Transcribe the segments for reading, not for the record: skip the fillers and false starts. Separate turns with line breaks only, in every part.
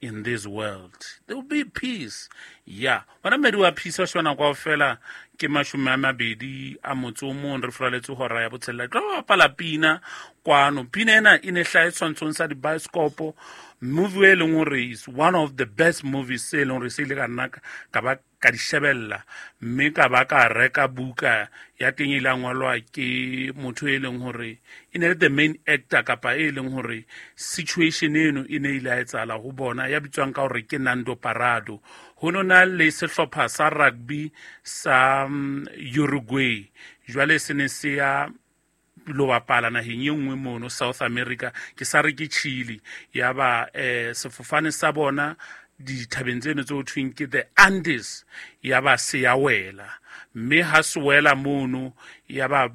In this world there will be peace. Ya bona mmedi wa peace wa shona kwa fela ke 21 re furaletse hora ya botshelela. Tlo bapala pina kwano. Pina ena e ne hlahe tshwantshong sa dibaesekopo. Movie e leng hore is one of the best movies se leng hore se ile ka nna ka ba ka di shebella, mme ka ba ka reka buka ya teng e ile ngwalwa ke motho e leng hore e ne le the main actor, kapa e leng hore situation eno e ne ile a etsahala ho bona, ya bitswang ka hore ke Nando Parado. Ho no na le sehlopha sa rugby sa Uruguay, jwale se ne se ya lo bapala naheng e nngwe mono South America, ke sa re ke Chile. Ya ba sefofane sa bona dithabeng tseno tse ho thweng ke the Andes, ya ba se ya wela, mme ha se wela mono ya ba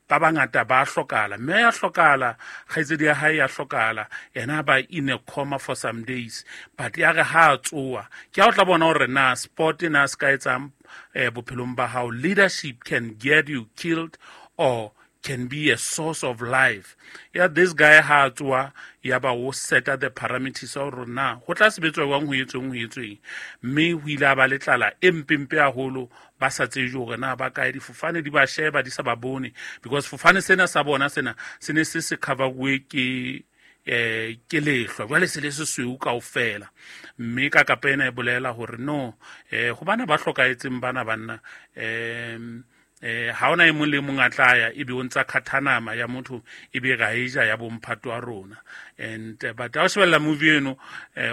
ba bangata ba hlokala, mme ya hlokala, kgaitsedi ya hae ya hlokala, yena ba in a coma for some days. But ya re ha a tsoa, ke ha o tla bona hore na sport na se ka etsang bophelong ba hao. Leadership can get you killed or can be a source of life. Ya this guy ha tsoa, ya ba o seta the parameters a hore na ho tla sebetswa jwang, ho etsweng, ho etsweng, mme ho ile a ba le tlala e mpempe haholo, ba sa tsebe hore na ba kae, difofane di ba sheba di sa ba bone, because fofane sena sa bona sena se ne se se cover-uwe ke lehlwa, jwale se le sesweu kaofela. Mme ka kapa ena e bolela hore no, ho bana ba hlokahetseng bana banna, ha ona e mong le mong a tla ya ebe o ntsa khathanama ya motho ebe ra e ja ya bomphato wa rona. And but ha o shebella movie eno,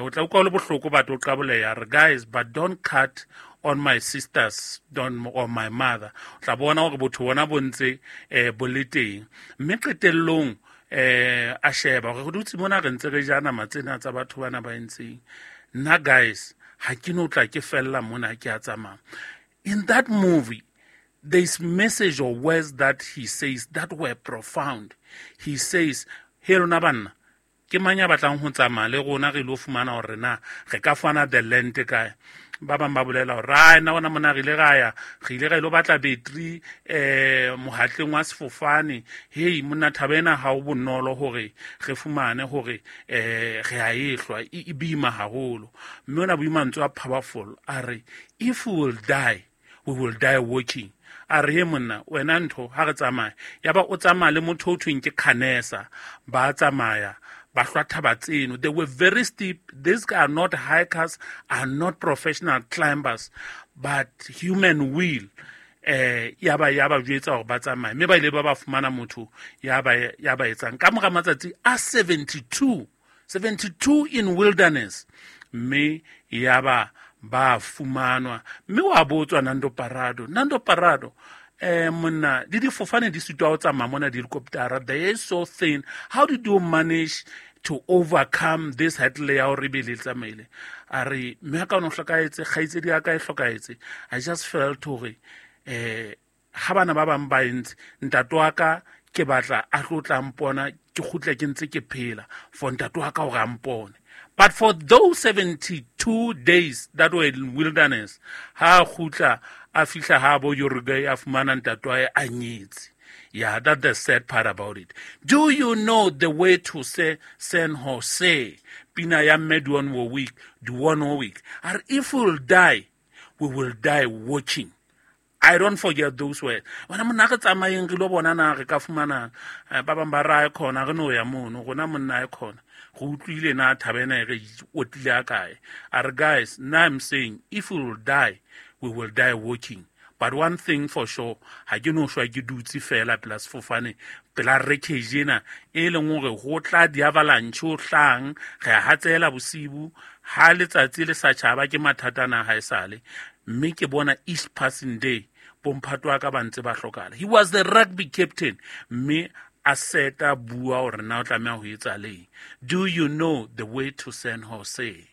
o tla utlwa o le bohloko, but o qaboleha re guys, but don't cut on my sisters, don't, or my mother. O tla bona hore botho bona bo ntse bo le teng. Mme qetellong a sheba hore re dutse mona re ntse re ja nama tsena tsa batho bana ba entseng. Nna guys, ha ke no tla ke fella mona, ke a tsamaya. In that movie, there's message or words that he says that were profound. He says, he lona banna, ke mang ya batlang ho tsamaya le rona re lo fumana hore na re ka fana the land kae? Ba bang ba bolela hore, ai, nna hona mona re ile ra ya, re ile ra ilo batla battery mohatleng wa sefofane. Hei, monna, thaba ena ha o bonolo hore re fumane hore re a e hlwa, e boima haholo. Mme ona boima mantswe a powerful, a re, if we will die, we will die working. A re, he monna, wena ntho, ha re tsamaya. Ya ba o tsamaya le motho o thweng ke Canesa, ba tsamaya, ba hlwa thaba tseno. They were very steep. These are not hikers, are not professional climbers, but human will. Ya ba, ya ba jwetsa hore ba tsamaye. Mme ba ile ba ba fumana motho ya ba, ya ba etsang. Ka mora matsatsi a 72 in wilderness, mme ya ba ba fumanwa. Mme wa botswa Nando Parado, Nando Parado, monna, di difofane di sitwa ho tsamaya mona, di-helicopter, they are so thin. How did you manage to overcome this hurdle ya hore ebe le tsamaile? A re, mme ka ono hlokahetse, kgaitsedi ya ka e hlokahetse. I just felt hore, ha bana ba bang ba entse, ntate wa ka ke batla a tlo tla mpona, ke kgutle ke ntse ke phela for ntate wa ka hore a mpone. But for those 72 days that were in wilderness, ha kgutla a fihla ha bo Uruguay, a fumana ntate wa hae a nyetse. Yeah, that's the sad part about it. Do you know the way to say San Jose? Pina ya mme Dionne Warwick, Dionne Warwick. And if we will die, we will die watching. I don't forget those words. Wena monna, re tsamayeng re lo bona na re ka fumana, ba bang ba ra e khona, re no ya mono, rona monna e khona. Re utlwile na thaba ena e re otlile a kae. A re, guys, now I'm saying, if we will die, we will die working. But one thing for sure, ha ke no shwa ke dutse fela pela sefofane, pela wreckage ena, e leng hore ho tla di-avalanche ho hlang, re a hatsela bosibu, ha letsatsi le sa tjhaba ke mathata na ha esale. Mme ke bona each passing day, bomphato wa ka ba ntse ba hlokahala. He was the rugby captain, mme a seta bua hore na o tlameha ho etsa leng. Do you know the way to San Jose?